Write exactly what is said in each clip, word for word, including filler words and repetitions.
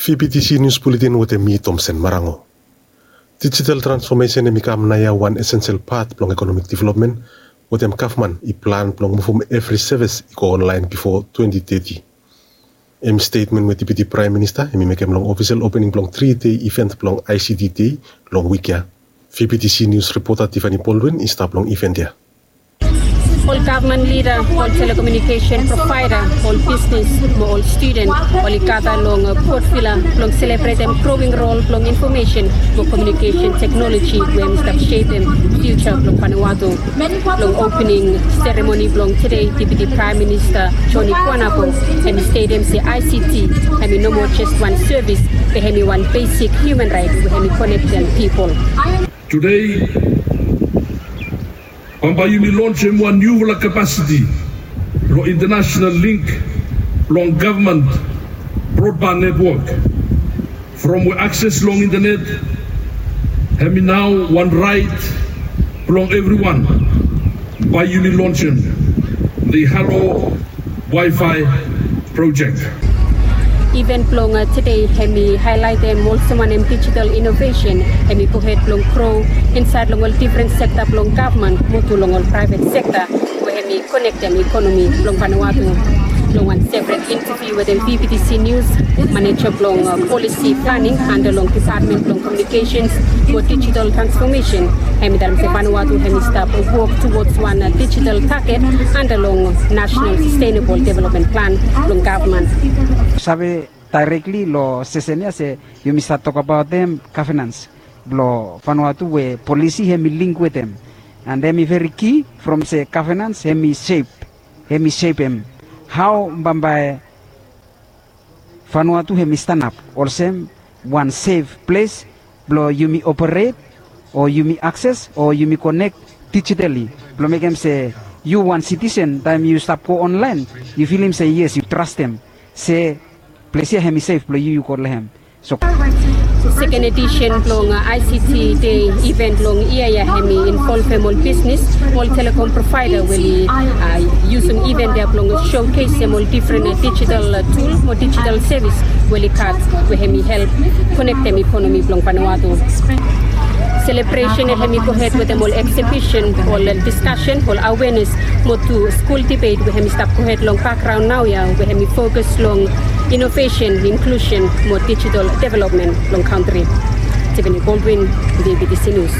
V B T C News Bulletin wetem mi, Tomsen Marango. Digital transformation hemi kam naoia wan essential part blong economic development, wetem gavman i plan blong muvum evri sevis i go online bifo twenty thirty. Hemi statement we Deputy Prime Minister hemi mekem long official opening blong three day event blong I C T Day long wik ya. V B T C News reporter Tiffany Baldwin i stap long event ya. Ol gavman lida, ol telecommunication provider, ol bisnis mo ol studen oli gada long Port Vila blong selebretem growing rol blong information mo communication technology we hemi stap shepem future blong Vanuatu. Long opening ceremony blong today, Deputy Prime Minister Johnny Kuanabo hemi statem se I C T hemi no moa jes wan sevis, be hemi wan basic human right we hemi konektem pipol. Today, bambae yumi lonsem wan niufala capacity long international link blong gavman broadband network. From we akses long internet hemi nao wan raet blong evriwan, bae yumi lonsem the Halo Wi-Fi project. Event blong tede hemi haelaetem olsem wanem digital inovesen hemi gohed blong gro insaed long ol difren sekta blong gavman mo tu long ol praevet sekta we hemi konektem ekonomi blong Vanuatu. Long wan sepret interview wetem V B T C News, maneja blong polisi planing anda long Department blong Communications mo Digital Transformation hemi talem se Vanuatu hemi stap wok towards wan digital target anda long National Sustainable Development Plan blong gavman. Save daerekli long sesen ya se yumi save tokbaotem gavenans blong Vanuatu we polisi hemi link wetem. And hemi veri ki from se gavenans hemi sep, hemi sepem hao bambae Vanuatu hemi stanap olsem wan sef ples blong yumi operet o yumi akses o yumi konek dijitali blong mekem se yu wan sitisen taem yu stap go onlaen yu filim se yes yu trastem se ples ya hemi sef blong yu yu go long hem. Seken edisen blong I C T Day event long yia ya hemi involvem ol bisnis, ol telekom provaeda we oli yusum event ya blong showcasem ol difren digital tul mo digital sevis we oli gat we hemi help konektem ekonomi blong Vanuatu. Selebresen ya hemi gohed wetem ol eksibisen, ol diskasen, ol awenes mo tu skul dibet we hemi stap gohed long bakgraon naoia we hemi fokus long inovesen, inklusen mo digital developmen long kantri. Tiffany Baldwin, V B T C News.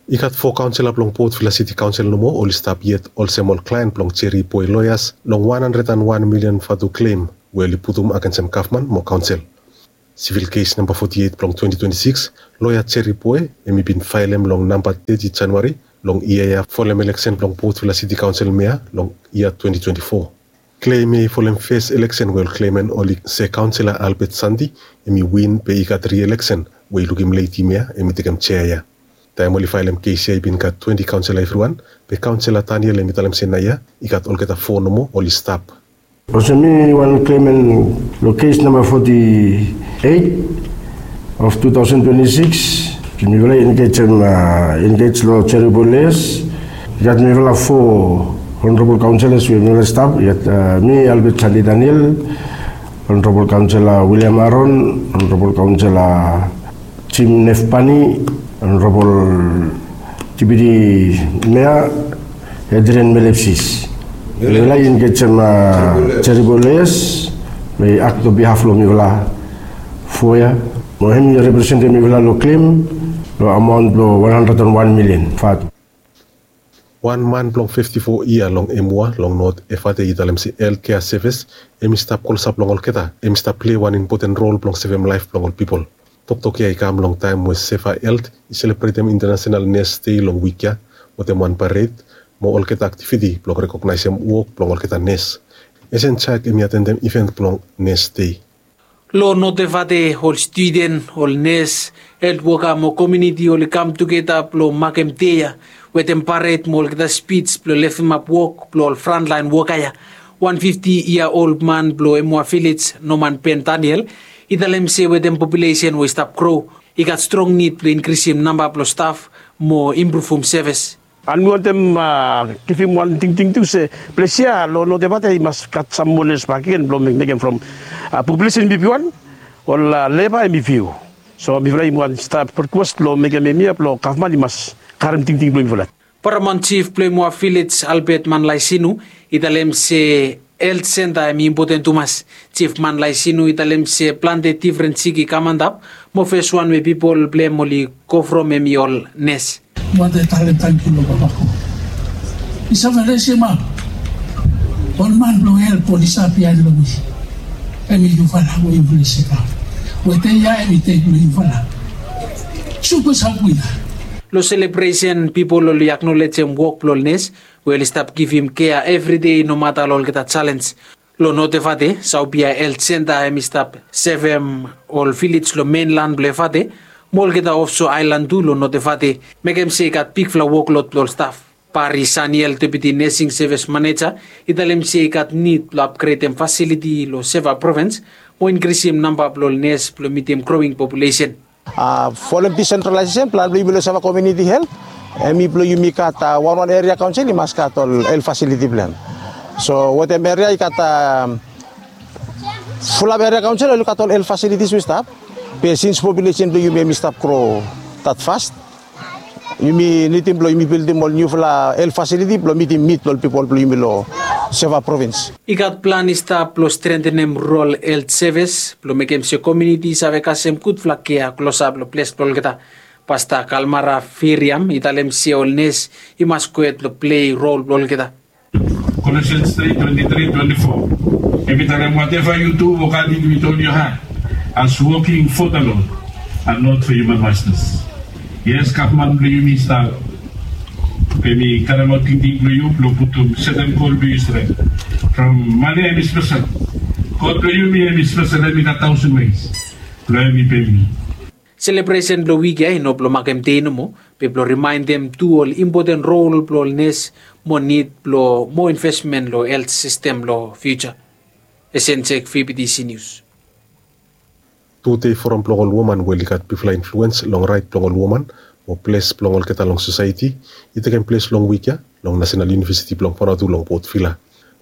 I gat fo kaonsela blong Port Vila City Kaonsel nomo oli stap yet olsem ol klaen blong Jerry Boy Lawyers long wan handred and wan milian vatu klem we oli putum agensem gavman mo kaonsel. Sivil kes namba foti eit blong twenti twenti sikis, loea Jerry Boy hemi bin faelem long namba teti Januari long yia ya folem eleksen blong Port Vila City Kaonsel mea long yia twenti twenti fo. Klem ya i folem fes eleksen we ol klemen oli se kaonsela Albert Sandi hemi win be i gat ri-eleksen we i lukim ledi mea hemi tekem jea ya. Taem oli faelem kes ya i bin gat twenti kaonsela evriwan, be kaonsela Daniel hemi talem se naoia i gat olgeta fo nomo oli stap. Olsem mi wan klemen long kes namba foti eit of tu taosen twenti sikis, mifala i engejem, engej long Jerry Boy Lawyers. I gat mifala fo honorabol kaonselas we mifala stap. I gat mi, Albert Sandi Daniel, honorabol kaonsela William Aaron, honorabol kaonsela Jim Nefpani, honorabol dipiti mea Adrian Melepsis. Mifala i engejem Jerry Boy Lawyers we i akto bihaf long mifala fo ya mo hem i representem mifala long klem long amaon blong wan handred and wan milian vatu. Wan man blong fifti fo yia long Emua long Not Efate i talem se helt kea sevis hemi stap klosap long olgeta, hemi stap plei wan impoten rol blong sevem laef blong ol pipol. Toktok ya i kam long taem we Seva Helt i selebretem International Nurse Day long wik ya wetem wan pared mo olgeta aktiviti blong rekognaesem wok blong olgeta nes. Esen Jaek hemi atendem iven blong Nurse Day. Long Not Efate ol studen, ol nes, helt woka mo komuniti oli kam tugeta blong makem dei ya wetem pared mo olgeta spij blong leftemap wok blong ol frantlaen woka ya. Wan fifti yia ol man blong Emua Vilej, Norman Ben Daniel, i talem se wetem populesen we i stap gro, i gat strong nid blong inkrisim namba blong staf mo impruvum sevis. And mi wantem givim wan tingting tu se ples ya long Not Efate i mas gat sam moa nes bakegen blong mekem from populesen bibiwan Ol leba hemi fiu. So mifala i wan stap rikwes blong mekem hemia blong gavman i mas karem tingting blong mifala. Paramon jif blong Imua Vilej Albert Manlaisinu i talem se helt senta hemi impoten tumas. Jif Manlaisinu i talem se plante difren sik i kam antap, mo feswan we pipol blong hem oli go from hemi ol nes. Wantem talem tangkiu long papa God. I save resim ap ol man blong help oli stap biaen long mi. Hemi yufala we yufala i sekam. We dei ya hemi dei blong yufala. Supa sapu ya. Long selebresen pipol oli aknolejem wok blong ol nes we oli stap givim kea evri dei nomata long olgeta jalenj. Long Notevate, Saopia helt senta hemi stap sevem ol vilej long menlan blong Evate mo olgeta ofso aelan tu long Notevate, mekem se i gat bigfala woklod blong ol staf. Bari Saniel, deputi nesing sevis maneja, i talem se i gat nid blong apgredem fasiliti long Seva provins mo inkrisim namba blong ol nes blong mitim growing populesen. A, folem disentralaesesen plan blong yumi long Seva komuniti helt, hemi blong yumi gat, a, wanwan eria kaonsel i mas gat ol helt fasiliti blong hem. So wetem eria i gat, a, fulap eria kaonsel oli gat ol helt fasilitis we i stap. Be sins populesen blong yumi hemi stap gro dat fas, yumi nidim blong yumi bildim ol niufala helt fasiliti blong mitim nid blong ol pipol blong yumi long Seva provins. I gat plan i stap blong strentenem rol helt sevis blong mekem se komuniti i save kasem gudfala kea klosap long ples blong olgeta. Pasta Kalmara Firiam i talem se ol nes i mas gohed blong plei rol blong olgeta. Colossians three twenty-three twenty-four. Hemi talem, whatever you do, work at it with all your heart, as working for the Lord and not for human masters. Yes, gavman blong yumi i stap. Be mi karemaot tingting blong yu blong putum setem gol blong yu stret. From mane hemi spesel, God blong yumi hemi spesel, hemi gat taosen wes blong hemi pem yu. Selebresen blong wik ya i no blong makem dei nomo, be blong rimaendem tu ol impoten rol blong ol nes mo nid blong moa invesmen long helt sistem long fiuja. Esen Jek, V B T C News. Tude foram blong ol woman we oli gat bigfala influens long raet blong ol woman mo ples blong olgeta long sosaeti i tekem ples long wik ya long Nasenal Univesiti blong Vanuatu long Port Vila.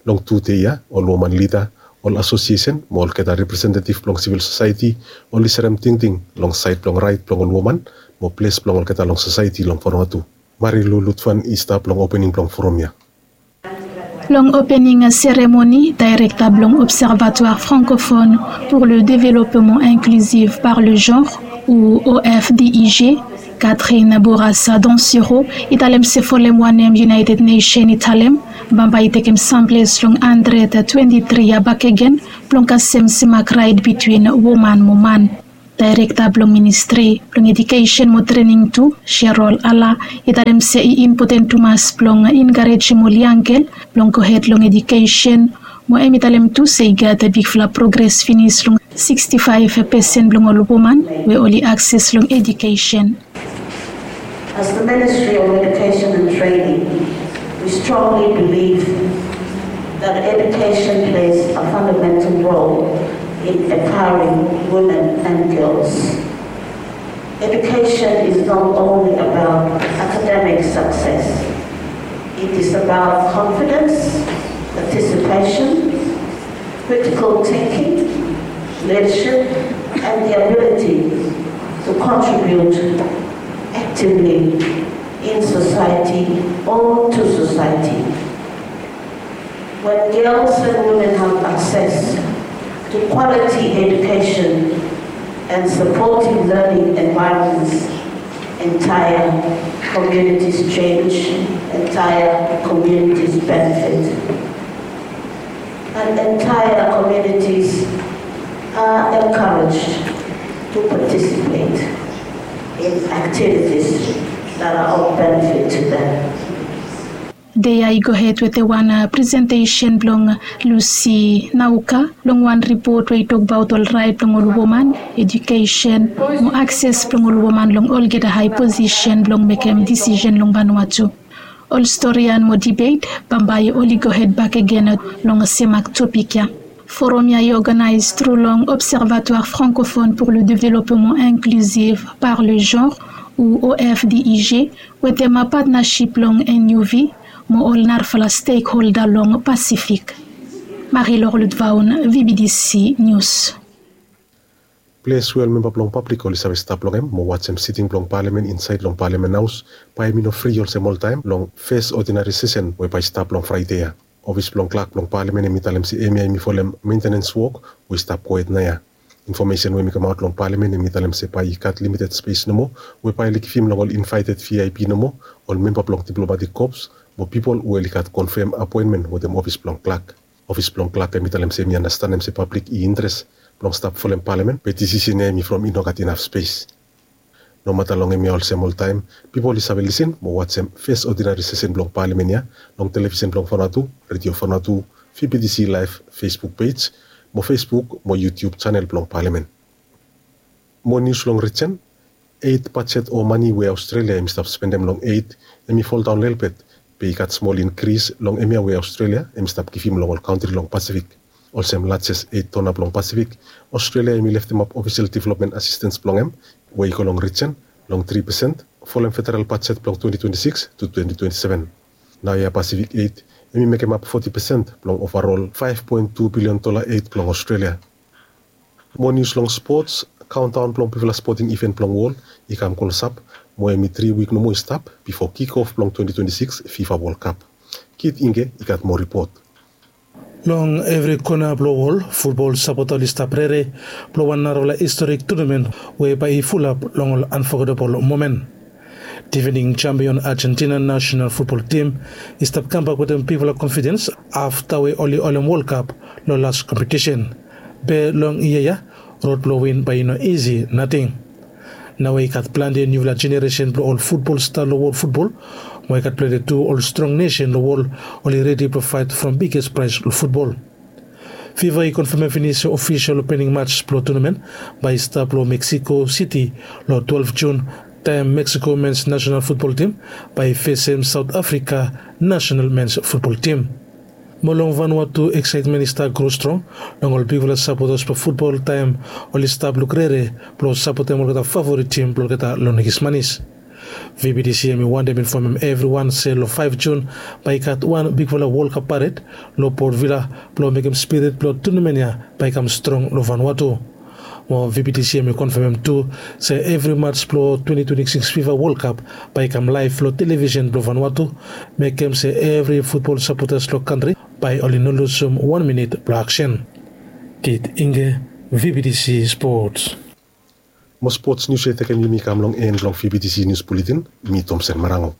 Long tude ya ol woman lida, ol asosiesen mo olgeta representetif blong sivil sosaeti oli serem tingting long saed blong raet blong ol woman mo ples blong olgeta long sosaeti long Vanuatu. Marilu Lutfan i stap long opening blong foram ya. Long opening seremoni, daerekta blong Observatoire Francophone pour le Développement Inclusif par le Genre, ou O F D I G, Catherine Bourassa Dansiro, i talem se folem wanem United Nation i talem, bambae i tekem samples long handred twenti tri ya bakegen blong kasem semak raet bitwin woman mo man. Daerekta blong Ministri blong Edukesen mo Trening tu, Sherol Ala, i talem se i impoten tumas blong enkarejem ol yangel blong gohed long edukesen, mo hemi talem tu se i gat bigfala progres finis long siksti faef pesen blong ol woman we oli akses long edukesen. As the Ministry of Education and Training, we strongly believe that education plays a fundamental role in empowering women and girls. Education is not only about academic success, it is about confidence, participation, critical thinking, leadership, and the ability to contribute actively in society or to society. When girls and women have access to quality education and supportive learning environments, entire communities change, entire communities benefit. And entire communities are encouraged to participate in activities that are of benefit to them. Dei ya i gohed wetem wan presentesen blong Lucy Nauka long wan ripot we i tokbaot ol raet blong ol woman, edukesen mo akses blong ol woman long olgeta hae posisen blong mekem disisen long Vanuatu. Ol storian mo dibet bambae oli gohed bakegen long semak topik ya. Foram ya i oganaes tru long Observatoire Francophone pour le Développement Inclusif par le Genre, ou O F D I G, wetem patnasip blong N U V mo ol narafala stekholda long Pasifik. Marie-Laure Lutvaun, V B T C News. Ples we ol memba blong pablik oli save stap long hem mo wajem siting blong palamen insaed long palamen haos bae hem i no fri olsem oltaem long fes odinari sesen we bae i stap long fraede ya. Ofis blong klak blong palamen hem i talem se hem ya hem i folem mentenens wok we i stap gohed naoia. Infomesen we hem i kamaot long palamen hem i talem se bae i gat limited spes nomo we bae oli givim long ol invaeted vip nomo, ol memba blong diplomatik kops mo pipol we oli gat konfem apoenmen wetem ofis blong klak. Ofis blong klak hem i talem se hem i anastanem se pablik i interes blong stap folem palamen be disisen ya hem i from i no gat inaf spes. Nomata long hem ya olsem oltaem pipol i save lisin mo wajem fes odinari sesen blong palamen ya long televisen blong Vanuatu, redio Vanuatu, VBTC laef, Facebook pej mo Facebook mo YouTube janel blong palamen. Mo nius long rijen. Eit bajet o mane we Aostralia hem i stap spendem long eit hem i foldaon lelebet be i gat smol inkris long hem ya we Aostralia hem i stap givim long ol kantri long Pasifik. Olsem lajes eit dona blong Pasifik, Aostralia hem i leftemap ofisel developmen asistens blong hem we i go long rijen long tri pesen folem federal bajet blong twenti twenti sikis tu twenti twenti seven. Naoia Pasifik eit hem i mekemap foti pesen blong ovarol faef poen tu bilion dola eit blong Aostralia. Mo nius long spots. Kaondaon blong bigfala spoting iven blong wol i kam klosap mo hem i tri wik nomo i stap bifo kikof blong twenti twenti sikis Fifa Wol Kap. Kit Ingge i gat moa ripot. Long evri kona blong wol futbol sapota oli stap rere blong wan narafala historik tunamen we bae i fulap long ol anfogetebol momen. Divening jampion Ajentina nasenal futbol tim i stap kambak wetem bigfala konfidens afta we oli holem Wol Kap long las kompetisen. Be long yia ya rod blong win bae i no isi nating. Nao we i gat plante niufala jeneresen blong ol futbol sta long wol futbol mo i gat plante tu ol strong nesen long wol oli redi blong faet from biges praes long futbol. Fifa i konfemem finis se ofisel opening mats blong tunamen bae i stap long Meksiko Siti long twelef Jun, taem Meksiko mens nasenal futbol tim bae i fesem Saot Afrika nasenal mens futbol tim. Mo long Vanuatu eksaetmen i stap gro strong long ol bigfala sapotas blong futbol taem oli stap lukrere blong sapotem olgeta favorit tim blong olgeta long Nikismanis. VBTC hem i wantem infomem evriwan se long faef Jun bae i gat wan bigfala Wol Kap pared long Port Vila blong mekem spirit blong tunamen ya bae i kam strong long Vanuatu. Mo VBTC hem i konfemem tu se evri mats blong twenti twenti sikis Fifa Wol Kap bae i kam laef long televisen blong Vanuatu, mekem se evri futbol sapotas long kantri bae oli no lusum wan minit blong aksen. Kit Ingge, VBTC Spots. Mo spots nius ya i tekem yumi kam long en blong VBTC Nius Buletin. Mi Tomsen Marango.